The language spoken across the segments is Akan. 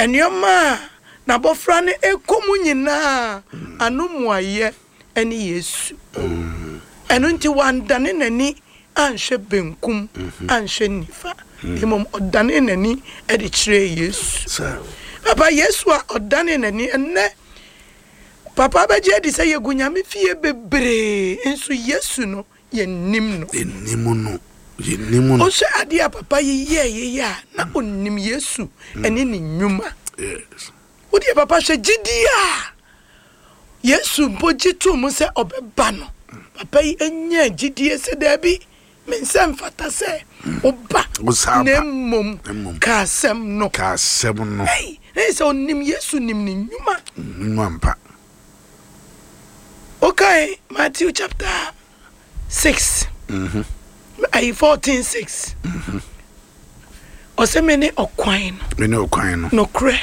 Nneɛma a n'abɔfra no rekɔ mu nyinaa ano mmuaeɛ ne Yesu. Ɛno nti wandane n'ani anhwɛ benkum anhwɛ nifa, mmom ɔdanee n'ani de kyerɛɛ Yesu. Papa, Yesu a ɔdanee n'ani, ɛnnɛ papa bɛgye adi sɛ yɛgu Nyame fie bebree, nso Yesu no yɛnnim no. Yɛnnim no. Yɛnnim no. Wohwɛ adeɛ a papa yi yɛeɛ yi a, na ɔnim Yesu ne ne nnwuma. Yes. Wodeɛ papa hwɛ gyidie a Yesu mpo gye too mu sɛ ɔbɛba no. Papa yi nyaa gyidie sɛ daabi, me nsa mfata sɛ woba, na mmom ka asɛm no. Ka asɛm no. Ei, na yɛ sɛ ɔnim Yesu nim ne nnwuma. Nnwuma mpa. Wokae Matthew chapter 6 ayi 14 6 ɔsɛ me ne ɔkwan no. Me ne ɔkwan no. Nokorɛ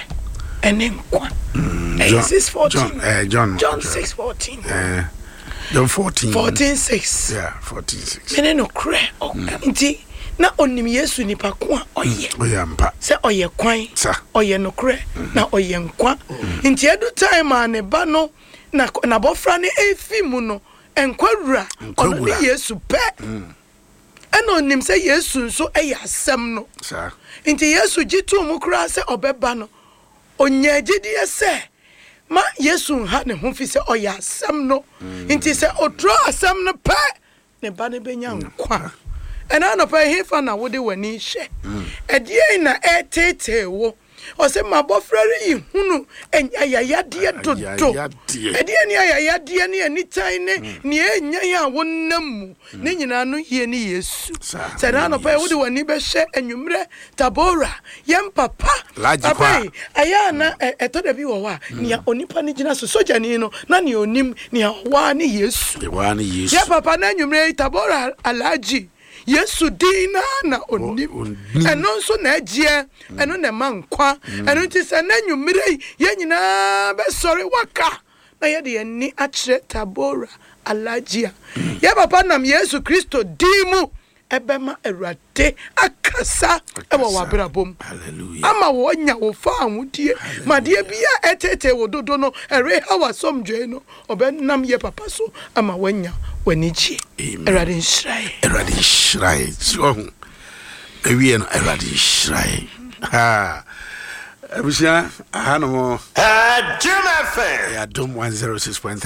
ɛne nkwa. Ɛyɛ 6 14. John, eh, John, John 6 14. Eh, John 14. 14 6. Yeah, 14 6. Me ne nokorɛ. Nti na onim Yesu nipa ko a ɔyɛ. Ɔyɛ ampa. Sɛ ɔyɛ kwan. Sa. Ɔyɛ nokorɛ na ɔyɛ nkwa. Nti edu time a ne ba no na n'abɔfra no efi mu no, nkwa wura, ɔno ne Yesu pɛ. Ɛna onim sɛ Yesu nso yɛ asɛm no. Sa. Nti Yesu gye too mu koraa sɛ ɔbɛba no, onyaa gyidie sɛ ma Yesu nha ne ho fi sɛ ɔyɛ asɛm no. Nti sɛ oturo asɛm no pɛ, ne ba no bɛnya nkwa. Ɛna anɔpa yi, hefa na wode w'ani hwɛ? Ɛdeɛn na ɛreteetee wo? Ɔsɛ m'abɔfra reyi hunu ayayadeɛ dodo. Ɛdeɛn ne ayayadeɛ ne anitan ne nea ɛnyan a wonam mu? Ne nyinaa no yie ne Yesu. Sɛ ɛna anɔpa yi wode w'ani bɛhwɛ anwummerɛ Tabora, yɛn papa, papa yi, ɛyɛ a na ɛtɔ da bi wɔ hɔ a, nea onipa no gyina so, sogyani no, na nea onim nea ɔwɔ ara ne Yesu. Yɛn papa no anwummerɛ yi, Tabora Alhaji, Yesu din no ara na onim. Ɛno nso na ɛgyeɛ, ɛno na ɛma nkwa. Ɛno nti sɛ na anwummerɛ yi, yɛn nyinaa bɛsɔre waka na yɛde yɛn ani akyerɛ Tabora Alhaji a, yɛn papa nam Yesu Kristo din mu ɛbɛma Awurade akasa wɔ w'abrabɔ mu ama wɔanya wo fawohodie ma deɛ bi a ɛtetee wo dodo no ɛreha w'asomdwoe no, ɔbɛnam yɛ papa so ama woanya w'anigyeɛ. Awurade nhyira yɛ. Awurade nhyira yɛ. Si ɔho awie no, Awurade nhyira yɛ. Ha abusua aha no mo. Adom FM. Adom 106.3.